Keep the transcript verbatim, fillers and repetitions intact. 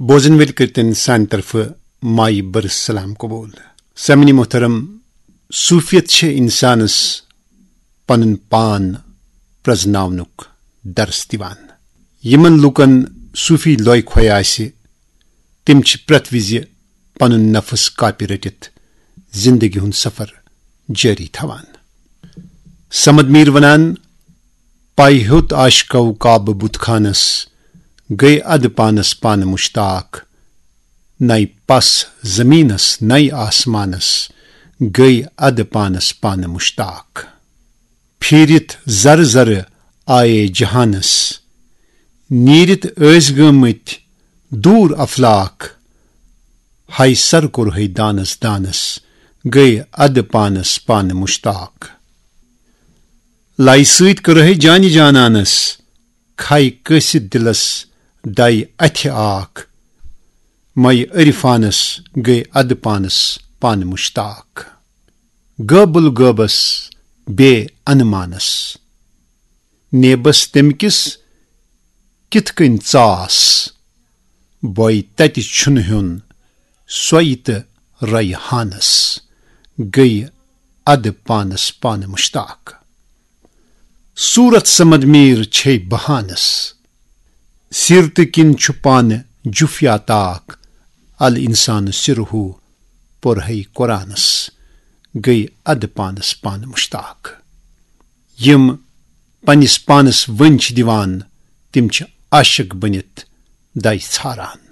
بوزن وٲلۍ کٔرتن سانہِ طرفہٕ مایہِ بٔرٕ سلام قبول۔ سامعین محترم، صوفیت چھِ انسانس پنُن پان پرزناونُک درس دِوان۔ یِمن لوٗکن صوفی لوے کھوے آسہِ، تِم چھِ پرٛٮ۪تھ وِزِ پنُن نفس کاپہِ رٔٹِتھ زندگی ہُنٛد سفر جٲری تھاوان۔ صمد میٖر ونان، پاے ہیوٚت عاشقو کعبہٕ بُت خانس، گٔے ادٕ پانس پانہٕ مشتاق۔ نَے پس زمینس نَے آسمانس، گٔے ادٕ پانس پانہٕ مشتاق۔ پھیٖرِتھ زر زر آیے جہانس، نیٖرِتھ ٲسۍ گٲمٕتۍ دوٗر افلاک۔ ہاے سر کوٚر ہے دانس دانس، گٔے ادٕ پانس پانہٕ مشتاق۔ لایہِ سۭتۍ کٔر ہے جانہِ جانانس، کھاے کٲسِتھ دِلس داے اتھِ آکھ۔ مے عرفانس گٔے ادٕ پانس پانہٕ مشتاق۔ غٲبل غٲبس بے انمانس، نیبس تمہِ کِس کِتھ کٔنۍ ژاس۔ بوے تتہِ چھُنہٕ ہیوٚن سۄے تہٕ ریحانس، گٔے ادٕ پانس پانہٕ مشتاق۔ صورت صمد میٖر چھے بہانس، سیرتہٕ کِنۍ چھُ پانہٕ جُفیا تاک۔ ال انسان سرہو پوٚر ہے قرآنس، گٔے ادٕ پانس پانہٕ مشتاق۔ یِم پننِس پانس ؤنۍ چھِ دِوان، تِم چھِ عاشق بٔنِتھ دَے ژھاران۔